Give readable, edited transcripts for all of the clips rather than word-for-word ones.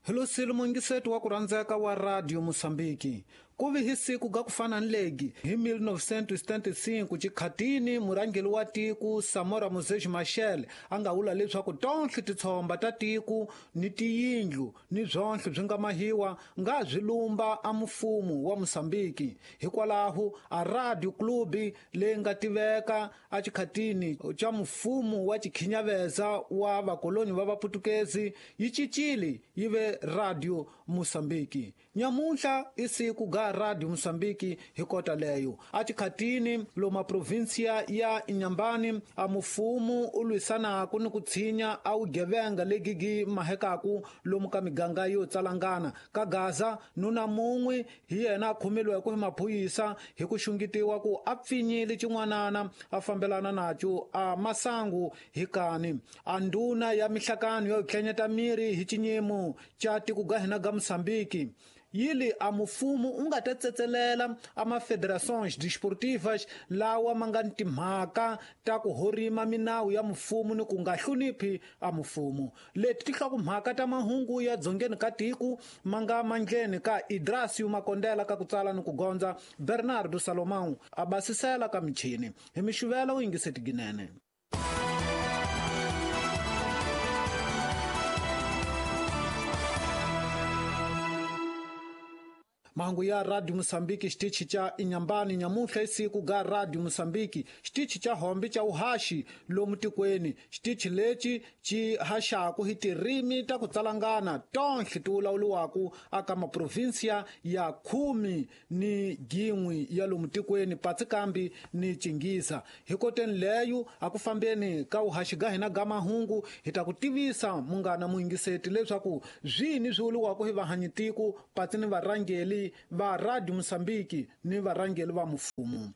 Hi mungiseti wa ku rhandzeka wa Radio Mosambiki. Ku vi hi siku ga ku fana ni legi hi 1975 chikhatini murhangeri wa tiko Samora Moses Machel a nga vula leswaku tonhle titshomba ta tiko ni tiyindlu ni byonhle byi nga mahiwa nga byi lumba a mfumo wa Mosambiki. Hikwalaho a Radio Club leyi nga tiveka a chikhatini cha mfumo wa chikhinyaveza wa vakoloni va vaputukezi yi cincile yi ve Radio Mosambiki. Nyamunhla i siku ga Radio Mosambiki hi kota leyo. A chikhatini loma provinsia ya Inhambane a mufumo u lwisanaku ni ku tshinya a vugevenga legigi mahekaku lomu ka miganga yo tsalangana ka Gaza. Nuna mun'we hi yena a khomeliweke hi maphorisa hi ku xungetiwa ku a pfinyile xin'wanana a fambelana naco a masangu hi kani. A ndhuna ya mihlakano yo tlhenyeta miri hi xinyimo xa tiko ga hina ga Mosambiki yili a mufumo u nga ta tsetselela a mafederações desportivas lawa ma nga ni timhaka ta ku horima minawu ya mufumo ni ku nga hloniphi a mufumo. Leti ti hlokomhaka ta mahungu ya dzongeni ka tiko ma nga mandleni ka Idrasio Makondela ka ku tsala ni ku gondza Bernardo Salomão a basisela ka michini hi mixuvela u yingiseti ginene. Mahungu ya Radio Mosambiki xitichi xa Inhambane nyamuntlha i siku ga Radio Mosambiki xitichi xa hombe xa uhaxi lomu tikweni. Xitichi lexi xi haxaku hi tirimi ta ku tsalangana tonhle ti vulavuriwaku aka maprovinsia ya 11 ya lomu tikweni patsi kambi ni Chingiza. Hi koteni leyo a ku fambeni ka uhaxi ga hina ga mahungu hi ta ku tivisa munghana muyingiseti leswaku zwini swi vuriwaku hi vahanyitiko patsi ni varhangeli va Radio Mosambiki ni varhangeli va mfumo.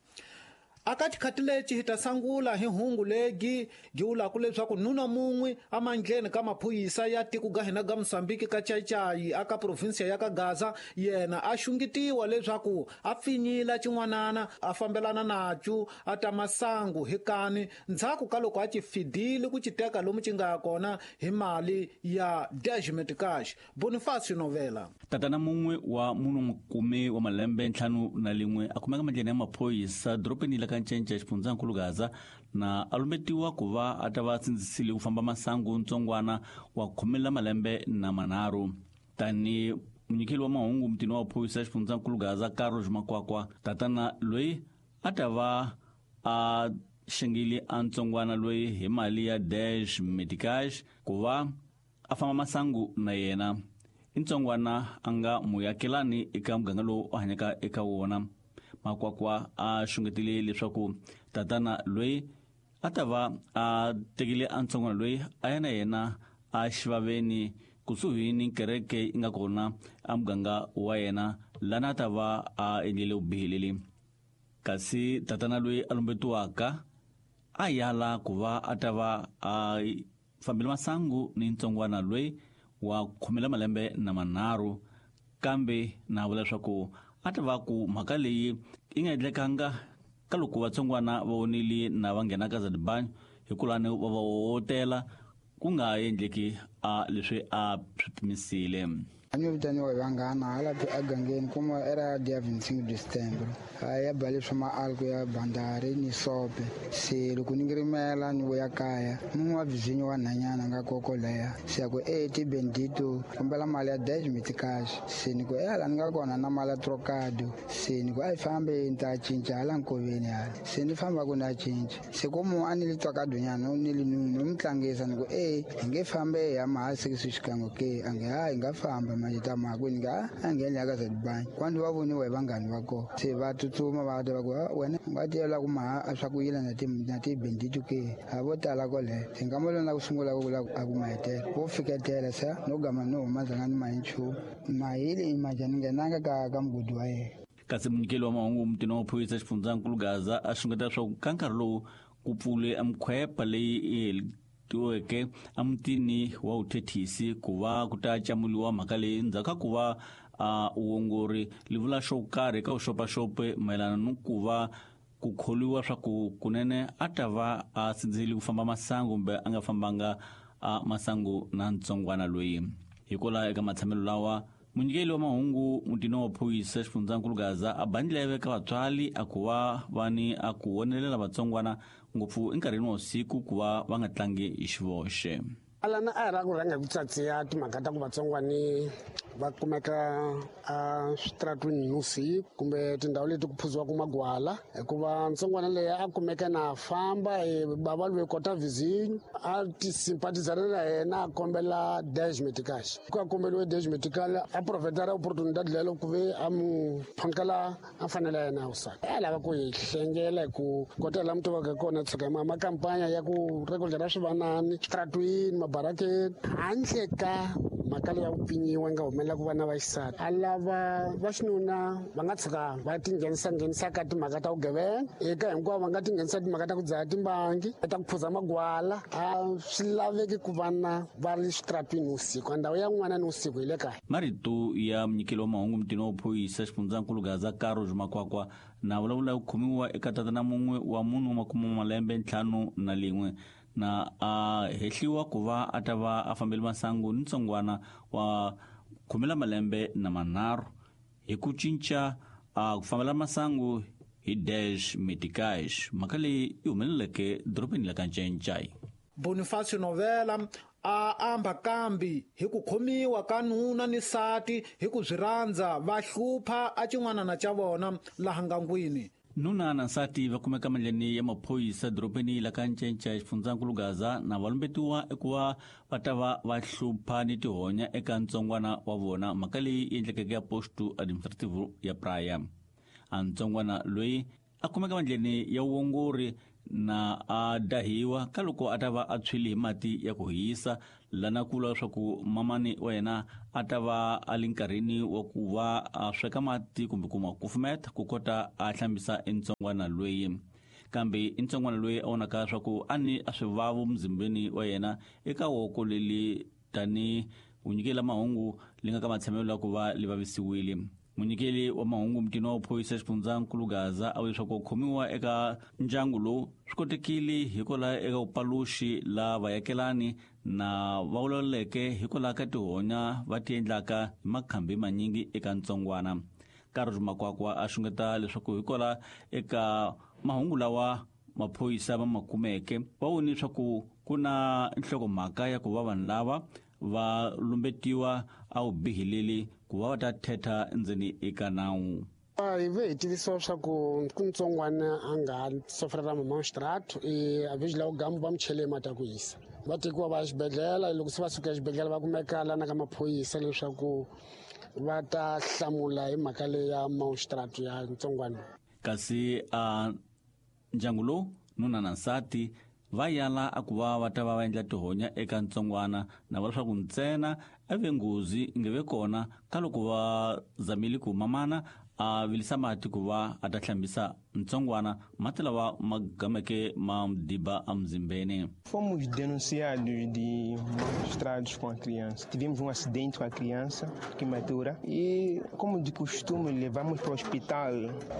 Aka xikhati lexi hi ta sangula hi hungu legi gi vulaka leswaku nuna mun'we amandleni ka maphorisa ya tiko ga hina ga Mosambiki ka Chaichai aka provinsia ya ka Gaza yena a xungetiwa leswaku a pfinyila xin'wanana a fambelana naco a ta masangu hi kani ndzhaku ka loko a ci fidile ku ci teka lomu ci nga ya kona hi mali ya Desmond Cash. Bonifacio Novela. Tatana mun'we wa munhu 10 wa malembe 51 a kumeka mandleni ya maphorisa dorobeni la ka Ncence xifundzankulu Gaza na a lumbetiwa ku va a ta va sindzisile ku famba masangu ntsongwana wa 13 malembe na manharhu. Tani munyikeli wa mahungu mutini wa maphorisa xifundzankulu Gaza Carlos Makwakwa, tatana loyi a ta va a xengile a ntsongwana loyi hi mali ya Dash Medicash ku va a famba masangu na yena. I ntsongwana a nga muyakelani eka muganga lowu a hanyaka eka wona. Makwakwa a xungetile leswaku tatana loyi a ta va a tekile a ntsongwana loyi a ya na yena a xivaveni kusuhi ni kereke yi nga kona a muganga wa yena lana a ta va a endlile vubihi. Kasi tatana loyi a lumbetiwaka a yala ku va a ta va a fambile masangu ni ntsongwana loyi wa 13 malembe na manharhu, kambe na vula leswaku a ta va ku mhaka leyi yi nga endlekanga ka loko vatsongwana va vonile na va nghena ka Zadibanyo hikulani va va hotela ku nga endleki a leswi a swi pimisile. A ni vitaniwa hi vanghana hala egangeni kuma era dia 25 de setembro. A ya ba leswi ma-alco ya bandari ni sope. Se loko ni ngirimela ni vuya kaya mun'we wa vizinyo wa nhanyana nga koko leya se a ku e ti bendito kombela mali ya 10 meticais. Se ni ku hala ni nga kona na mali ya trocado. Se ni ku a yi fambe ni ta cinca hala nkoveni hala. Se ni famba ku na cinca. Se ku mu a ni li trocado nyana ni li nunu ni tlangisa ni ku e hi nge fambe ya mahasi ku xikango ke a nge ha hi nga famba manje ta makwini nga a ngheni ya ka Zadibanyo. Kwandu va voniwa hi vanghani va kona. Se va tsutsuma va ta va ku wena u nga tiyela ku maha a swa ku yila na ti na ti bendito ke a vo tala kwale. Se nga mo lona ku sungula ku vula a ku mahetela. Vo fiketela se no gama no huma ndzanga ni mahi nchumu. Mahile i manje ni nghenanga ka mugodi wa yena. Kasi munyikeli wa mahungu mutini wa maphorisa xifundzankulu Gaza a xungeta leswaku ka nkarhi lowu ku pfule mikhwepa leyi tiweke emutini wa vuthethisi ku va ku ta camuliwa mhaka leyi ndzhaku ka ku va a uongori li vula xo karhi eka vuxopaxopi mayelana ni ku va ku kholiwa swa ku kunene a ta va a sindzisile ku famba masangu kumbe a nga fambanga a masangu na ntsongwana loyi. Hikwalaho eka matshamelo lawa, munyikeli wa mahungu mutini wa maphorisa xifundzankulu Gaza a ba ndleve ka vatswari a ku va va ni a ku vonelela vatsongwana ngopfu enkarhini wa usiku ku va va nga tlangi hi xivoxe. Alana a hi ra ku rhanga hi ku tsatsiya timhaka ta ku vatsongwani va kumeka a switaratwini nivusiku kumbe tindhawu leti ku phuziwaka magwala, hikuva ntsongwana leyi a kumeka na famba bava loyi kota vizinyo a ti simpatizana na yena a kombela dash medical. Ku a kombeliwe dash medical a profetara opportunidad lelo ku ve a mu phankela a fanele ya yena ya vusati. A lava ku hi hlengela hi ku kota laha mi tivaka kona tshuka makampanya ya ku rekodela swivanani switaratwini mabarakeni handle ka mhaka leyi ya ku pfinyiwa yi nga humelela ku vana va xisati. A lava va xinuna va nga tshuka va tinghenisa nghenisa ka timhaka ta vugevenga, eka hinkwavo va nga tinghenisa timhaka ta ku dzaha timbangi, ta ku phuza magwala. A swi laveki ku vana va ri switaratwini vusiku, ndhawu ya n'wana ni vusiku hi le kaya. Marito ya munyikeli wa mahungu mutini wa phorisa xifundzankulu Gaza Carlos Makwakwa na vulavula ku khomiwa eka tatana mun'we wa munhu wa makume malembe 51 na a hehliwa ku va a ta va a fambele masangu ni ntsongwana wa 13 hi ku cinca a ku fambela masangu hi dash medicais. Mhaka leyi yi humeleleke dorobeni la ka Ncencai. Bonifacio Novela a amba kambi hi ku khomiwa ka nuna ni sati hi ku swi rhandza va hlupha a xin'wanana xa vona laha ngangwini. Nuna na nsati va kumeka mandleni ya maphorisa dorobeni la ka Ncencai xifundzankulu Gaza na va lumbetiwa eku va va ta va va hlupha ni tihonya eka ntsongwana wa vona. Mhaka leyi yi endlekeke ya posto administrativo ya Praia. A ntsongwana loyi a kumeka mandleni ya vuongori na a dahiwa ka loko a ta va a tshwile hi mati ya ku hisa, lana ku vula leswaku mamani wa yena a ta va a li nkarhini wa ku va a sweka mati kumbe ku ma kufumeta ku kota a hlambisa ntsongwana loyi. Kambe ntsongwana loyi a vonaka leswaku a ni a swivavo muzimbeni wa yena eka woko leli tani u nyikela mahungu li nga ka matshamelo ya ku va li vavisiwile. Munyikeli wa mahungu mutini wa phorisa xifundzankulu Gaza a vula leswaku ku khomiwa eka ndyangu lowu swi kotekile hikwalaho eka vupaluxi la vayakelani na va vulavuleke hikwalaho ka tihonya va ti endlaka hi makhambi manyingi eka ntsongwana. Carlos Makwakwa a xungeta leswaku hikwalaho eka mahungu lawa maphorisa va ma kumeke va vone leswaku ku na nhlokomhaka ya ku va vanhu lava va lumbetiwa a wu bihileli ku va va ta thetha endzeni eka nawu. Hi ve hi tivisiwa swa ku ku ntsongwana a nga sofrera mamonstrato a vhiji la gamu va mu chele mati ya ku hisa. Va tekiwa va ya xibedhlele, loko se va suka exibedhlele va kumeka lana ka maphorisa leswaku va ta hlamula hi mhaka leyi ya monstrato ya ntsongwana. Kasi a ndyangu lowu nuna na nsati va yala a ku va va ta va va endla tihonya eka ntsongwana na va leswaku ntsena a ve nghozi nge ve kona ka loko va zamile ku mamana a vilisa mati ku va a ta hlambisa ntsongwana mati lawa ma gameke ma diba emuzimbeni. Fomos denunciados de maus tratos com a criança. Tivemos um acidente com a criança, queimadura, e como de costume levamos para o hospital.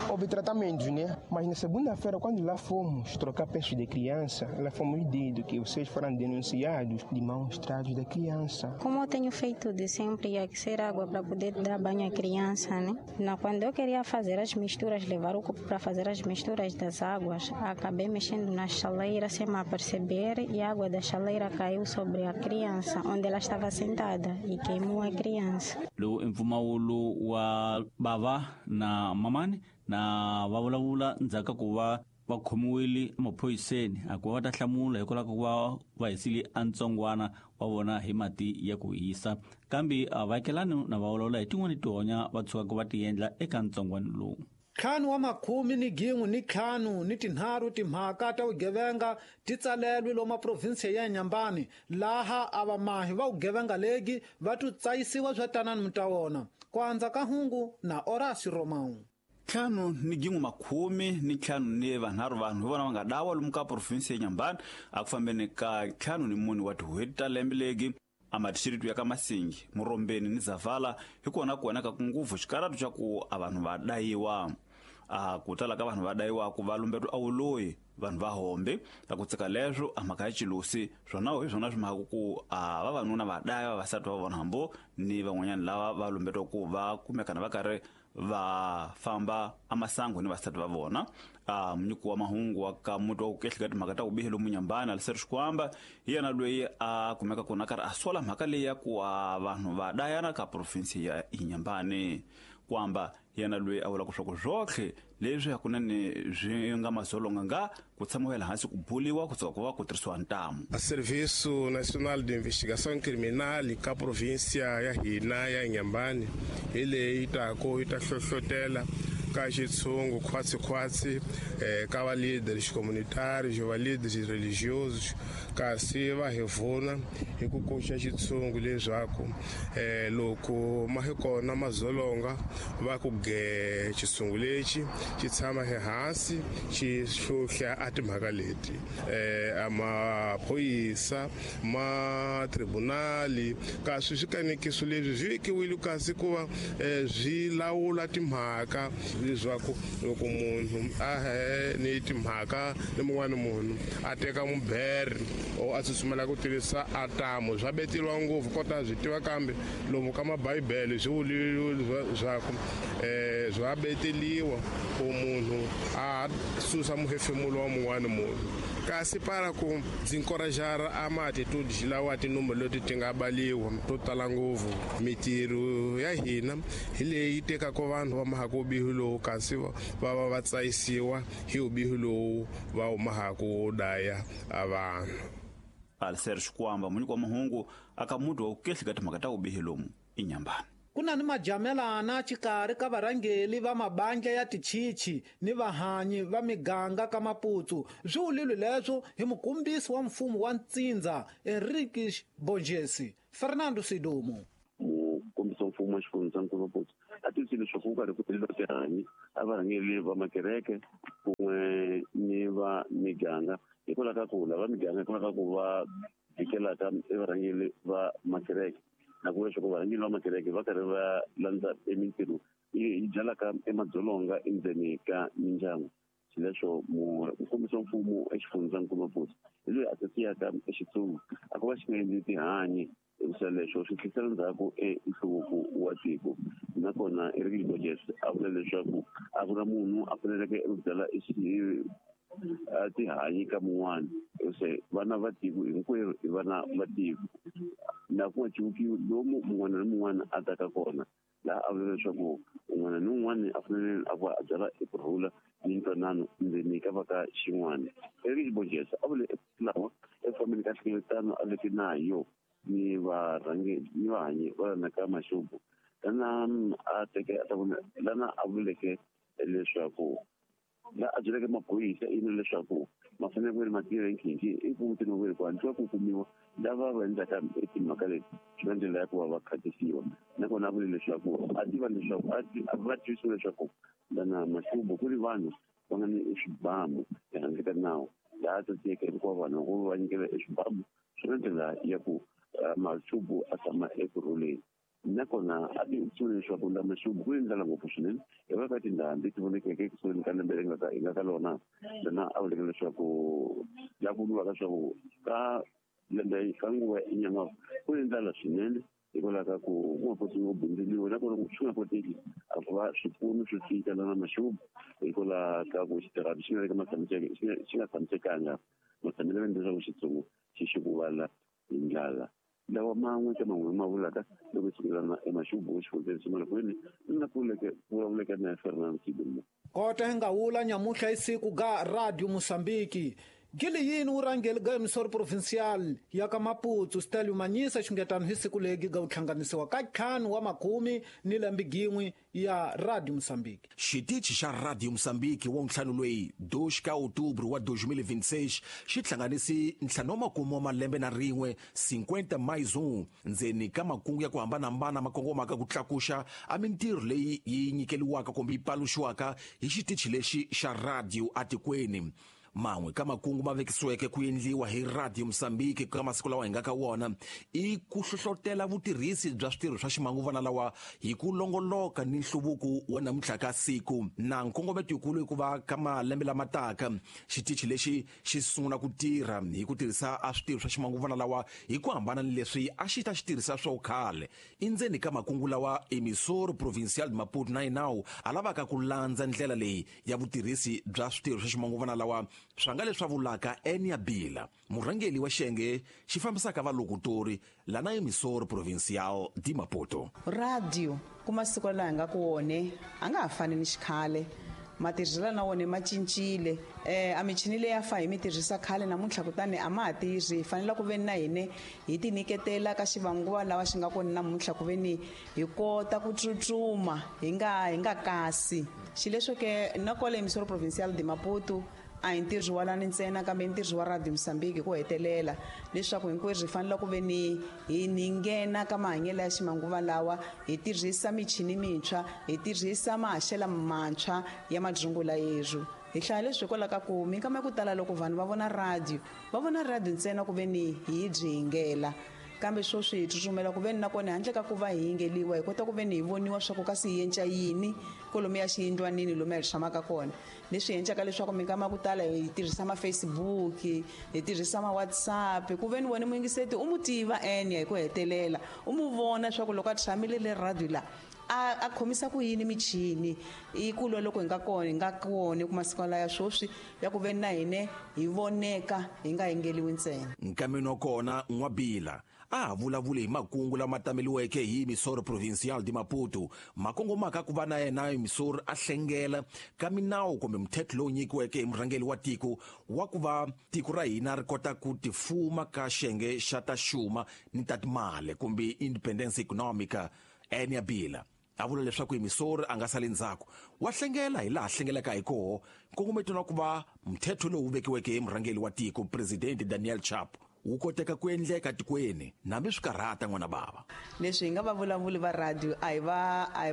Houve tratamentos, né? Mas na segunda-feira, quando lá fomos trocar peças de criança, lá fomos dito que vocês foram denunciados de maus tratos da criança. Como eu tenho feito de sempre, ia aquecer água para poder dar banho à criança, né? Não, quando eu queria fazer as misturas, levar o copo para fazer as misturas das águas, acabei mexendo na chaleira sem me aperceber e a água da chaleira caiu sobre a criança, onde ela estava sentada, e queimou a criança. Lowu i mpfumawulo wa bava na mamani na va vulavula ndzhaku ka ku va va khomiwile emaphoriseni a ku va va ta hlamula hikwalaho ka ku va va hisile a ntsongwana wa vona hi mati ya ku hisa. Kambe a vaakelani na va vulavula hi tin'wani tihonya va tshukaka va ti endla eka ntsongwana lowu. 5 wa makhumi ni gin'we ni ntlhanu ni tinharhu timhaka ta vugevenga ti tsalelwe lomu provinsi ya Nyambani, laha a vamahi va vugevenga legi va tu tsayisiwa swa tanani mutawona. Ku andza ka hungu na Horacio Romão. 5 ni gin'we makhumi ni ntlhanu ni vanharhu vanhu hi vona va nga dawa lomu ka provinsi ya Nyambani a ku fambeni ka 54 wa tin'hweti ta lembe legi. A madisiritu ya ka Masingi, Murombeni ni Zavala hi kona ku vonaka ku ngopfu xikaratu xa ku a vanhu va dayiwa. A ku tala ka vanhu va dayiwaku va lumbetwa a wuloyi vanhu va hombe a ku tsika leswo a mhaka ya xilusi swona hi swona swi mhaka ku a vavanuna va daya vavasati va vona hambo ni van'wanyana lava va lumbetwa ku va kumekana va karhi va famba amasangu ni vasati va vona. A munyiki wa mahungu wa ka muti wa ku kehleka timhaka ta ku bihi lomu Nyambani Aliseri Xikwamba hi yena loyi a kumeka kona karhi a sola mhaka leyi ya ku a vanhu va dayana ka provinsi ya Inyambani. Kwamba yena loyi a vulaka swa ku swotlhe leswi hakunene swi nga mazolonga nga ku tshamiwa hansi ku buliwa ku tsaka ku va ku tirhisiwa ntamu. A Serviço Nacional de Investigação Criminal ka província ya hina ya Inhambane hi leyi tako yi ta hlohlotela ka xitshungu khwatsi-khwatsi ka va líderes comunitários, va líderes religiosos, kasi va hi vuna hi ku koxa xitshungu leswaku loko ma hi kona mazolonga va ku ge xitshungu lexi xi tshama ehansi xi hlohla a timhaka leti a maphorisa ma tribunali kasi swikanekiso leswi swi vekiwile kasi ku va swi lawula timhaka leswaku loko munhu a he ni timhaka ni mun'wana munhu a teka mubere o a tsutsumela ku tirhisa atamu swa beteriwa ngopfu kota byi tiva kambe lomu ka mabhayibele swi vuliwe leswaku swa beteliwa ku munhu a susa muhefemulo wa mun'wana munhu kasi para ku ndzi encourager a ma-attitudes lawa tinumba leti ti nga baliwa to tala ngopfu mitirho ya hina hi leyi tekaka vanhu va mahaka vubihi lowu kasi va va va tsayisiwa hi vubihi lowu va humahaka wo daya a vanhu. Aliser Xikwamba munyiki wa mahungu aka muti wa ku kehleka timhaka ta vubihi lomu Inyambani. Ku na ni majamelana xikarhi ka varhangeli va mabandla ya tichichi ni vahanyi va miganga ka Maputo swi vulile leswo hi mukombisi wa mfumo wa ntsindza Enrique Borges Fernando Sidumo. Mukombisi wa mfumo wa xifundzankulu Maputo a tivise leswaku ku karhi ku tirhisiwa tihanyi a varhangeli va makereke kun'we ni va miganga hikwalaho ka ku lava miganga hikwalaho ka ku va vikelaka evarhangeli va makereke na ku leswaku varhangeri va makereke va karhi va landza emintirho yi byalaka emadzolonga endzeni ka mindyangu. Xileswo mukombisi wa mfumo exifundzankulu Maputo hi loyi a tsasiyaka exitsungu a ku va xi nga endli tihanyi hikusa leswo swi tlhisela ndzhaku enhluvuko wa tiko. Nakona Enrique Borges a vula leswaku a ku na munhu a faneleke eku byala tihanyi ka mun'wana hikusa vana va tiko hinkwerhu i vana va tiko na ku nga civukiwi lomu mun'wana ni mun'wana a taka kona laha a vula leswaku un'wana ni un'wana a fanele a va a byala ekurhula ni ntwanano ndzeni ka va ka xin'wana. Enrique Borges a vule lawa eku fambeni ka nhlengeletano a veke na yo ni varhangeri ni vahanyi va lana ka Maxubu lana a teke a ta vona lana a vuleke leswaku la a byeleke maphorisa yini leswaku ma fanele ku ri ma tirha hi nkhinkhi i ku mutini wa ku hatlisa ku kumiwa lava va endlaka timhaka leti swi na ndlela ya ku va va khatisiwa. Nakona a vule leswaku a tiva leswaku a va tivisiwa leswaku lana Maxubu ku ri vanhu va nga ni eswibamu ehandle ka nawu laha tsatsiyeke hinkwavo vanhu ku va nyikela eswibamu swi na ndlela ya ku Maxubu a tshama ekurhuleni. Nakona a tivisiwe leswaku la Maxubu ku ni ndlala ngopfu swinene hi va ka tindhambi ti vonekeke ekusuhani ka lembe leri nga hi nga ka lona lana a vuleke leswaku la ku vuriwaka leswaku ka lembe ka nguva ya Inyan'waka ku ni ndlala swinene hikwalaho ka ku ku nga koti ku bindzuriwa nakona swi nga koteki a ku va swipfuno swi fika lana Maxubu hikwalaho ka ku xitirhano xi nga le ka xi nga tshamisekanga matshamelo ya leswaku xitsongo xi xikuvala hi ndlala. Lawa man'we ka man'we ma vulaka loko sungulana eMaxubu exifundzeni xa Malakwini na vulavuleke na Fernando Sidumo. Kota hi nga wula nyamuhla hi siku ga Radio Mozambique gili yini wu rhangeli ga emisoro provincial ya ka Maputo Stelio Manyisa xungetano hi siku legi ga wu hlanganisiwa ka 5 wa makume ni lembe gin'we ya Radio Mozambique. Xitichi xa Radio Mozambique wa ntlhanu loyi 2 ka Outubro wa 2026 xi hlanganisi ntlhanu wa makume wa malembe na rin'we 50 mais 1 ndzeni ka makungu ya ku hambanahambana ma kongomaka ku tlakuxa a mintirho leyi yi nyikeliwaka kumbe yi paluxiwaka hi xitichi lexi xa radio atikweni. Man'we ka makungu ma vekisiweke ku endliwa hi Radio Mozambique ka masiku lawa hi nga ka wona i ku hlohlotela vutirhisi bya switirho swa ximanguvana lawa hi ku longoloka ni nhluvuko wa namuntlha ka siku. Na nkongometo yikulu i ku va ka malembe lama taka xitichi lexi xi sungula ku tirha hi ku tirhisa a switirho swa ximanguvana lawa hi ku hambana ni leswi a xi ta xi tirhisa swo khale. Endzeni ka makungu lawa, Emissora Provincial de Maputo na yinawu a lavaka ku landza ndlela leyi ya vutirhisi bya switirho swa ximanguvana lawa, swa nga leswi vulaka Enia Bila, murhangeri wa xiyenge xi fambisaka valokutori lana Emissora Provincial de Maputo. Radio ku masiku laha hi nga ku wone a nga ha fani ni xikhale, matirhiselo na wona ma cincile. A michini leyi a fa hi mi tirhisa khale namuntlha kutani a ma ha tirhi. Hi fanele ku veni na hine hi ti nyiketela ka xivanguva lawa xi nga kona namuntlha, ku veni hi kota ku tsutsuma hi nga kasi. Xileswo ke na kwale Emissora Provincial de Maputo a hi ntirho wa lani ntsena, kambe i ntirho wa Radio Mozambique ku hetelela, leswaku hinkwerhu hi fanele ku veni hi nghena ka mahanyelo ya ximanguva lawa, hi tirhisa michini mintshwa, hi tirhisa mahaxelo mantshwa ya madzungula yerhu. Hi hlaya leswi hikwalaho ka ku minkama ya ku tala loko vanhu va vona radio, va vona radio ntsena ku veni hi byi yingela, kambe sweswi hi tsutsumela ku veni nakona handle ka ku va hi yingeliwa hi kota ku veni hi voniwa swa ku kasi hi yenca yini kolomu ya xiyindlwanini lomu hi tshamaka kona. Leswi endlaka leswaku minkama ya ku tala hi tirhisa ma-Facebook, hi tirhisa ma-WhatsApp, ku veni wena muyingiseti u mu tiva Enia hi ku hetelela, u mu vona swa ku loko a tshamile le radio la a khomisa ku yini michini. I kulwa loko hi nga kona, hi nga kona ku masiku laya sweswi ya ku veni na hine hi voneka hi nga yingeliwi ntsena. Nkameni wa kona N'wabila a vulavule hi makungu lama tameliweke hi Emissora Provincial de Maputo, makongomaka ku va na yena Emissora a hlengela ka minawu kumbe mthetho lowu nyikiweke hi murhangeri wa tiko wa ku va tiko ra hina ri kota ku tifuma ka xiyenge xa ta xuma ni ta timali kumbe independence economica. Enia Bila a vula leswaku Emissora a nga sali ndzhaku, wa hlengela hi laha hlengelaka hi koho nkongometo na ku va mthetho lowu vekiweke hi murhangeri wa tiko President Daniel Chapo wu koteka ku endleka tikweni nambi swi karhata n'wana bava. Leswi hi nga va vulavuli va radio a hi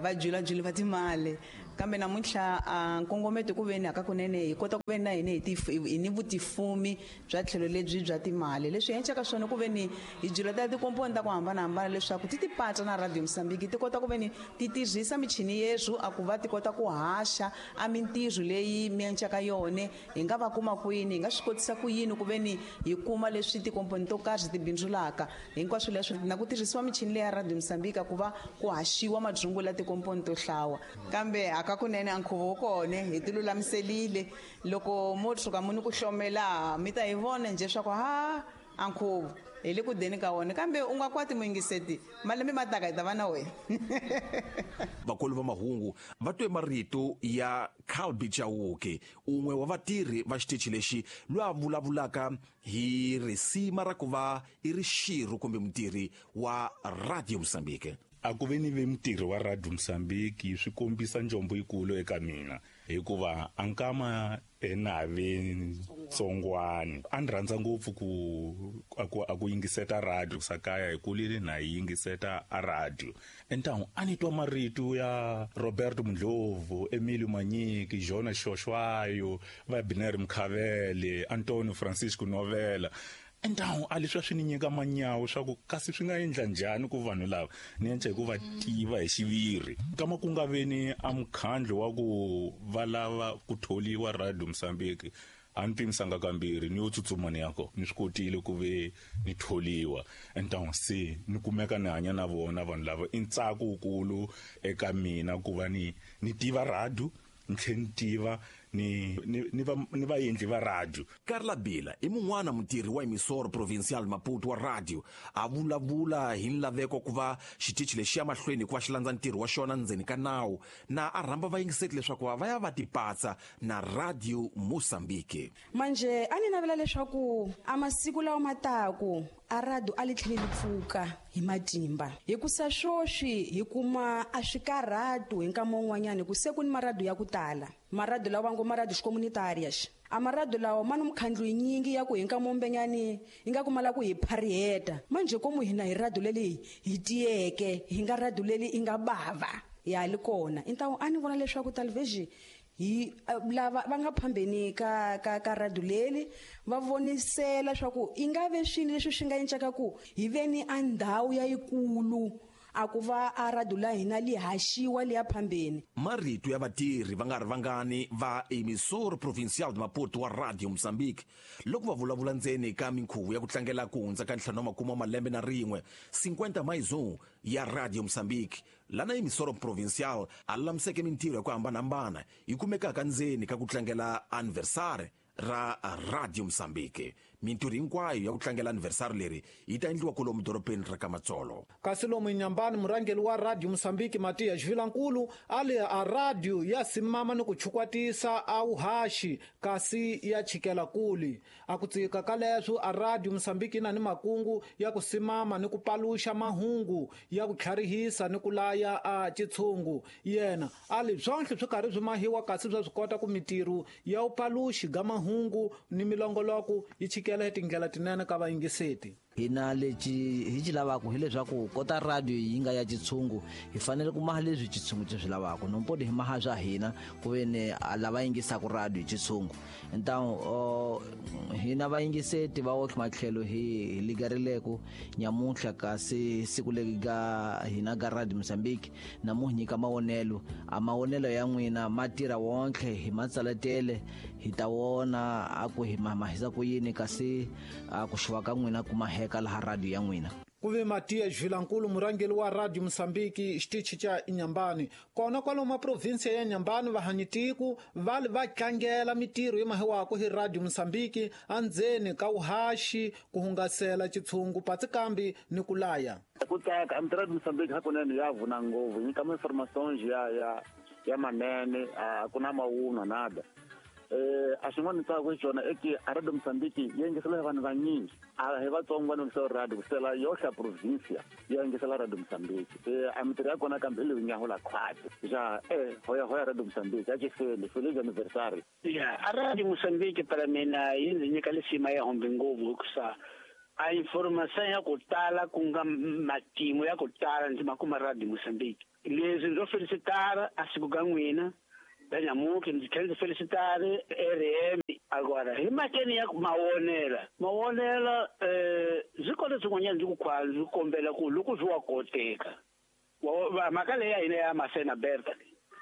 va julajuli va timali, kambe namuntlha nkongometo ku veni hakakunene hi kota ku veni na hina hi ni vutifumi bya tlhelo lebyi bya timali. Leswi hi endlaka swona ku veni hi julata tikomponi ta ku hambanahambana leswaku ti tipatsa na Radio Mozambique, ti kota ku veni ti tirhisa michini yeswo a ku va ti kota ku haxa a mintirho leyi mi endlaka yona. Hi nga va kuma kwini, hi nga swi kotisa ku yini ku veni hi kuma leswi tikomponi to karhi ti bindzulaka hinkwaswo leswi, na ku tirhisiwa michini leyi ya Radio Mozambique ku va ku haxiwa madzungula tikomponi to hlawa. Kambe hakakunene a nkhuvo wu kona, hi ti lulamiselile. Loko mo tshuka mu ni ku hlomela mi ta hi vona njhe swa ku ha a nkhuvo hi le ku deni ka wona, kambe u nga kwati muyingiseti malembe ma taka hi ta va na wena. Vakulu va mahungu va twe marito ya Calbi Chauke, un'we wa vatirhi va xitichi lexi, loyi a vulavulaka hi risima ra ku va i ri xirho kumbe mutirhi wa Radio Mozambique. A ku ve ni ve mutirhi wa Radio Mozambique swi kombisa njombo yikulu eka mina, hikuva a nkama enave ntsongwani a ni rhandza ngopfu ku yingiseta radio sakaya hi kulile na yi yingiseta a radio. Entangu a ni twa marito ya Roberto Mundlovu, Emilio Manyiki, Jonas Shoshwayo, va Biner Mkhavele, Antonio Francisco Novela. Entangu a leswi swi ni nyika manyawu swa ku kasi swi nga endla njhani ku vanhu lava ni endla hi ku va tiva hi xiviri. Kama ku nga veni a mukhandlu wa ku va lava ku tholiwa Radio Mozambique, a ni pimisanga kambirhi ni yo tsutsuma ni ya ko ni swi kotile ku ve ni tholiwa. Entangu se ni kumeka ni hanya na vona vanhu lava, i ntsako wukulu eka mina ku va ni tiva radio, ni tlhela ni tiva ni vaendli va radio. Carla Bila i mun'wana mutirhi wa Emissora Provincial Maputo wa radio, a vulavula hi nlaveko ku va xitichi lexi ya mahlweni hikuva xi landza ntirho wa xona ndzeni ka nawu, na a rhamba vayingiseti leswaku va ya va tipatsa na Radio Mozambique. Manje a ni navela leswaku a masiku lawa ma taku a radio a li tlheli li pfuka hi matimba, hikusa swoswi hi kuma a swikarhatu hi nkama wun'wanyani ku se ku ni marado ya ku tala, marado lawa ngo marado xicomunitarias. A marado lawa ma ni mukhandlu yinyingi ya ku hi nkama wumbenyani hi nga kumala ku hi phariheta. Manje komu hina hi radio leli hi tiyeke, hi nga radio leli i nga bava ya li kona. Intawu a ni vona leswaku television Hi lava va nga phambeni ka radio leli va vonisela swa ku i nga ve swini leswi swi nga encaka ku hi veni a ndhawu ya yikulu a ku va a radio la hina li haxiwa liya phambeni. Marito ya vatirhi va nga ri vangani va Emissora Provincial de Maputo wa Radio Mozambique loko va vulavula ndzeni ka minkhuvo ya ku tlangela ku hundza ka 50 wa malembe na rin'we 50 mais 1 ya Radio Mozambique, lana Emissora Provincial a lulamiseke mintirho ya ku hambanahambana yi kumekaka ndzeni ka ku tlangela anniversary ra Radio Mozambique. Mintirho hinkwayo ya ku tlangela anniversary leri yi ta endliwa kwalomu dorobeni ra Kamatsolo. Kasi lomu Inhambane, murhangeri wa Radio Mozambique Matias Vilankulu a li a radio ya simama ni ku chukwatisa a wuhaxi kasi ya chikela kuli. A ku tsika ka leswo a Radio Mozambique yi na ni makungu ya ku simama ni ku paluxa mahungu ya ku tlharihisa ni ku laya a chitshungu. Yena a li swonhle swi karhi swi mahiwa kasi swa swi kota ku mintirho ya upaluxi ga mahungu ni milongoloko yi chikela tindlela tinene ka vayingiseti. Hina lexi hi xi lavaka hileswaku kota radio yi nga ya xitshungu hi fanele ku maha leswi xitshungu xi swi lavaka, nompodi hi maha swa hina ku ve ni a lava yingisaka radio hi xitshungu. Então hina vayingiseti va otlhe matlhelo hi ligarileko nyamuntlha kasi siku leri ga hina ga Radio Mozambique na mu nyika mavonelo, a mavonelo ya n'wina ma tirha wontlhe hi matsaletele hi ta wona a ku hi mahisa ku yini kasi a ku xuva ka n'wina kuma heka laha radio ya n'wina. Ku ve Matias Vilankulu murhangeri wa Radio Mozambique xitichi xa Inhambane. Kona kwalomu province ya Inhambane vahanyitiku va li va tlangela mintirho yi mahiwaka hi Radio Mozambique andzeni ka wuhaxi ku hungasela xitshungu patsikambi ni ku laya. Ku tsaka a Radio Mozambique hakunene ya vuna ngopfu, yi nyika information ya manene, a ku na mawunwa nada. A xin'wana ni tsaka xona i ki a Radio Mozambique yi yingisela hi vanhu vanyingi, a hi vatsongo va yingisela radio ku sela yohle provincia yi yingisela Radio Mozambique. A mintirho ya kona kambe hi leyi nyahula khwati ja hoya hoya Radio Mozambique a xifeli feliz anniversary. Ya a Radio Mozambique para mina yi ndzi nyika lisima ya hombe ngopfu hikusa a information ya ku tala ku nga matimu ya ku tala ndzi ma kuma Radio Mozambique. Leswi ndzo felicitara a siku ka n'wina Benyamuke ndzi tlhela ndzi felicitare RM. Agora hi makeni ya mawonela byi kona swin'wanyana ndzi ku khwala ndzi kombela ku loko swi wa koteka mhaka leyi ya hina ya Masena Berta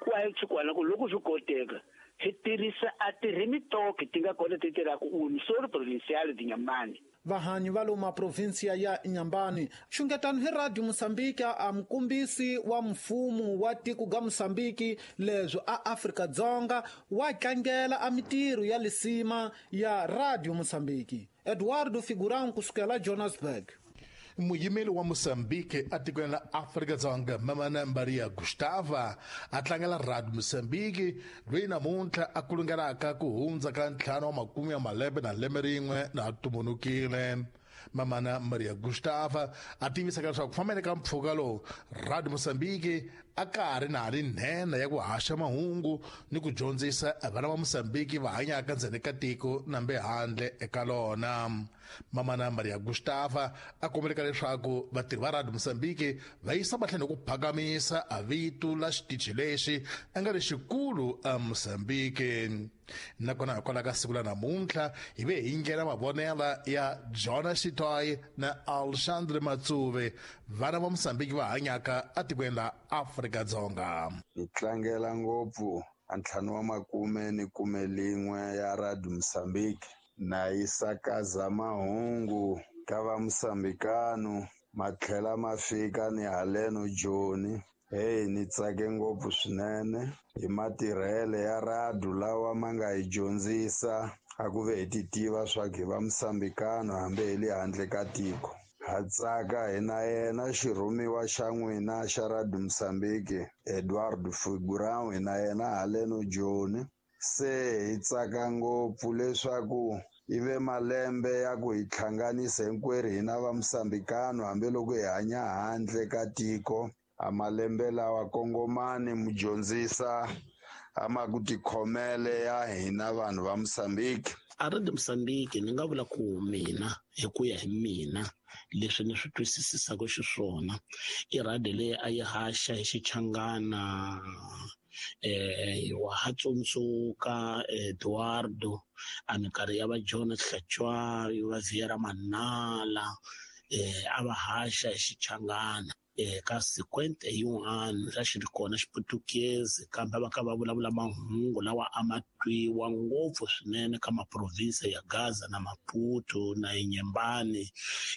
ku a yi tshikwana ku loko swi koteka hi tirhisa a tirhimitoki ti nga kona ti tirhaka Emissora Provincial de Inhambane. Vahanyi va loma provinsia ya Inhambane xungetano hi Radio Mozambique a mukumbisi wa mfumo wa tiko ga Mozambique leswo a Afrika Dzonga wa tlangela a mintirho ya lisima ya Radio Mozambique. Eduardo Figurão kusukela Johannesburg. Muyimeli wa Mozambique atikweni la Afrika Dzonga Mamana Maria Gustava a tlangela Radio Mozambique loyi namuntlha a kulungelaka ku hundza ka 50 ya malembe na lembe rin'we na tumunukile. Mamana Maria Gustava a tivisa leswaku fambeni ka mpfhuka lowu Radio Mozambique a ka ha ri na ri nhenha ya ku haxa mahungu ni ku dyondzisa vana va Mozambique va hanyaka ndzeni ka tiko nambe handle eka lona. Mamana Maria Gustava a kombeleka leswaku vatirhi va Radio Mozambique va yisa mahlweni ku phakamisa a vito la xitichi lexi a nga lexikulu a Mozambique. Nakona hikwalaho ka siku la namuntlha hi ve hi ndlela mavonela ya Jonas Shitoy na Alexandre Matsuve, vana va Mozambique va hanyaka atikweni la Afrika Dzonga. Hi tlangela ngopfu a 51 ya Radio Mozambique na yi sakaza mahungu ka va Mozambikano ma tlhela ma fika ni haleno Joni. Hey, ni tsake ngopfu swinene hi matirhele ya radio lawa ma nga hi dyondzisa a ku ve hi ti tiva swa ku hi va Mozambikano hambi hi le handle ka tiko. Ha tsaka hi na yena xirhumiwa xa n'wina xa Radio Mozambique Eduardo Figurão, hi na yena haleno Joni. Se hi tsaka ngopfu leswaku yi ve malembe ya ku hi hlanganisa hinkwerhu hina va Mozambikano hambiloko hi hanya handle ka tiko. A malembe lawa kongomani mudyondzisa a ma ku tikhomele ya hina vanhu va Mozambique. A Radio Mozambique ni nga vula ku mina hi ku ya hi mina Leswi ni swi twisisisaka xiswona i radio leyi a yi haxa hi Xichangana, wa ha tsundzuka Eduardo a minkarhi ya va John Hlatshwayo, va Viera Manala, a va haxa hi Xichangana. Ka sequente yin'wana xa xi ri kona Xiputukezi, kambe va ka va vulavula mahungu lawa a ma twiwa ngopfu swinene ka maprovinsi ya Gaza na Maputo na Inhambane.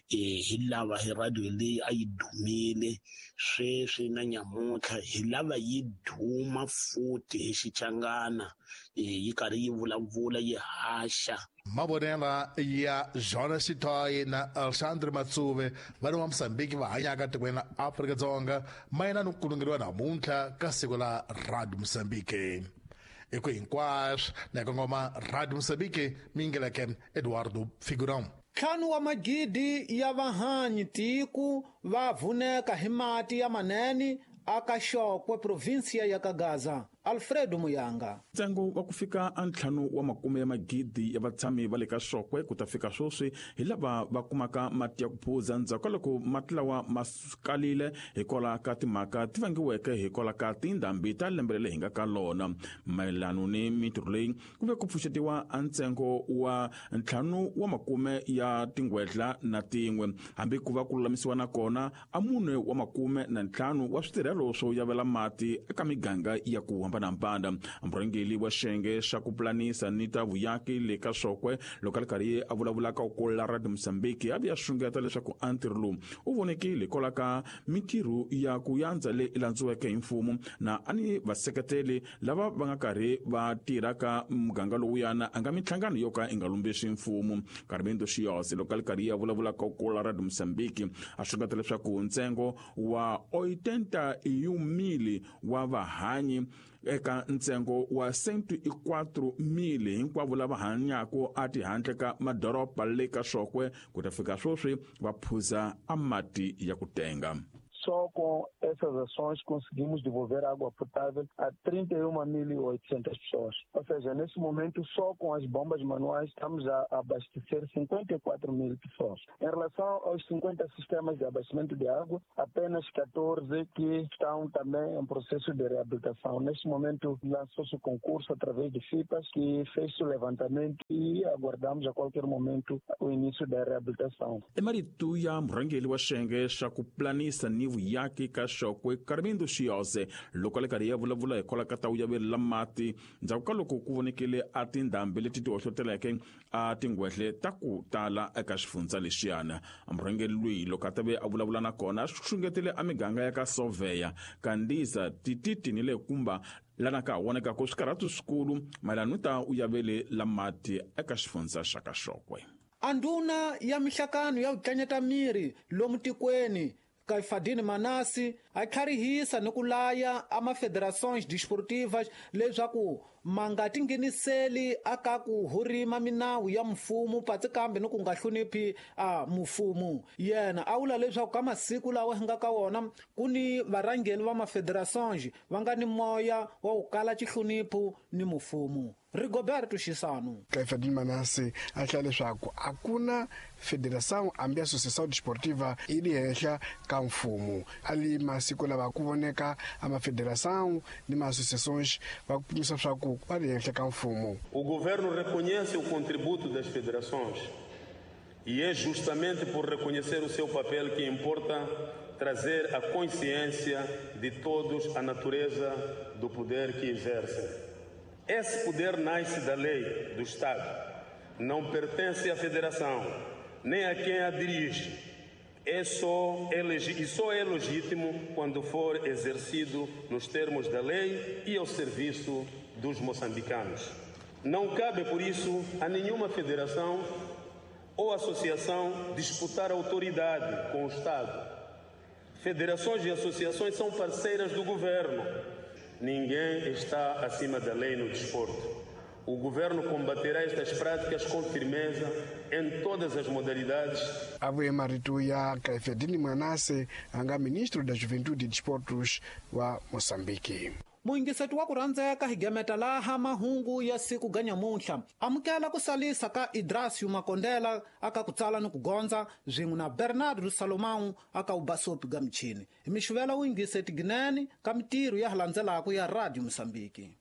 Hi lava hi radio leyi a yi dumile sweswi na nyamuntlha, hi lava yi duma futhi hi Xichangana, yi karhi yi vulavula yi haxa. Mavonela ya Jonas Xithoyi na Alexandre Matsuve, vana va Mosambiki va hanyaka tikweni la Afrika-Dzonga, mayelana ni ku kulungeriwa namuntlha ka siku la Radio Mosambiki. I ku hinkwaswo na kongoma Radio Mosambiki, miyingeleke Eduardo Figurão. 5 wa magidi ya vahanyi tiku va vuneka hi mati ya manene aka Xokwe, provinsia ya Kagaza. Alfredo Muyanga. Ntsengo wa ku fika a 5 wa makume ya magidi ya vatshami va le ka Xokwe ku ta fika sweswi hi lava va kumaka mati ya ku phuza ndzhaku ka loko mati lawa ma kalile hikwalaho ka timhaka ti vangiweke hikwalaho ka tindhambi ta lembe leri hi nga ka lona. Mayelano ni mintirho leyi ku ve ku pfuxetiwa a ntsengo wa 5 wa makume ya tingwedla na tin'we, hambi ku va ku lulamisiwa na kona a 4 wa makume na 5 wa switirhelo swo yavela mati eka miganga ya ku hambanahambana. Murhangeri wa xiyenge xa ku pulanisa ni ta vuyaki le ka Xokwe loko a ri karhi a vulavula ka ku la Radio Mozambique a vuya xungeta leswaku a ntirho lowu u vonekile hikwalaho ka mintirho ya ku yandza leyi landziweke hi mfumo na a ni vaseketeli lava va nga karhi va tirha ka muganga lowuyana a nga minhlangano yo ka yi nga lumbexi mfumo. Carmendo Xiyose loko a ri karhi a vulavula ka ku la Radio Mozambique a xungeta leswaku ntsengo wa 81,000 wa vahanyi eka ntsengo wa 104,000 hinkwavo lava hanyaka a tihandle ka madoroba le ka Xokwe ku ta fika sweswi va phuza a mati ya ku tenga. Só com essas ações conseguimos devolver água potável a 31.800 pessoas. Ou seja, nesse momento, só com as bombas manuais estamos a abastecer 54 mil pessoas. Em relação aos 50 sistemas de abastecimento de água, apenas 14 que estão também em processo de reabilitação. Neste momento, lançou-se o concurso através de FIPAs, que fez o levantamento e aguardamos a qualquer momento o início da reabilitação. Emarito ya murhangeri wa xiyenge xa ku planisa ni vuyaki ka Xokwe Carmendo Xiyose loko a ri karhi ya vulavula hikwalaho ka ta vuyaveri la mati ndzhaku ka loko ku vonekile a tindhambi leti ti hohloteleke a tingwehle ta ku tala eka xifundza lexiyana. Murhangeri loyi loko a ta ve a vulavula na kona a xungetile a miganga ya ka Soveya, Kandiza, Tititi ni le Kumba lana ka ha vonekaka swikarhatu swikulu mayelana ni ta uyaveli la mati eka xifundza xa ka Xokwe. A ndhuna ya mihlakano ya ku tlanyeta miri lomu tikweni Caifadine Manasi a tlharihisa ni ku laya a mafederações desportivas leswaku ma nga tingheniseli aka ku hurima minawu ya mfumo patsi kambe ni ku nga hloniphi a mfumo. Yena a vula leswaku ka masiku lawa hi nga ka wona ku ni varhangeri va mafederações va nga ni moya wa ku kala xihlonipho ni mfumo. Rigoberto Xisano. Caifadine Manasi a hlaya leswaku a ku na federação hambi associação desportiva yi le henhla ka mfumo. A li masiku lava ku voneka a mafederação ni ma-associações va kumisa swa ku va le henhla ka mfumo. O governo reconhece o contributo das federações e é justamente por reconhecer o seu papel que importa trazer a consciência de todos a natureza do poder que exercem. Esse poder nasce da lei do Estado, não pertence à federação, nem a quem a dirige. E só é legítimo quando for exercido nos termos da lei e ao serviço dos moçambicanos. Não cabe, por isso, a nenhuma federação ou associação disputar autoridade com o Estado. Federações e associações são parceiras do governo. Ninguém está acima da lei no desporto. O governo combaterá estas práticas com firmeza em todas as modalidades. A vuye marito ya Caifadine Manase, anga ministro da Juventude e Desportos wa Moçambique. Muyingiseti wa ku rhandzeka, hi gemeta laha mahungu ya siku ga nyamuntlha. Amukela ku salisa ka Idrasio Makondela aka ku tsala ni ku gondza, swin'we na Bernardo Salomão aka ubasopi ga michini. Hi mixuvela wuyingiseti ginene ka mitirho ya ha landzelaka ya Radio Mosambiki.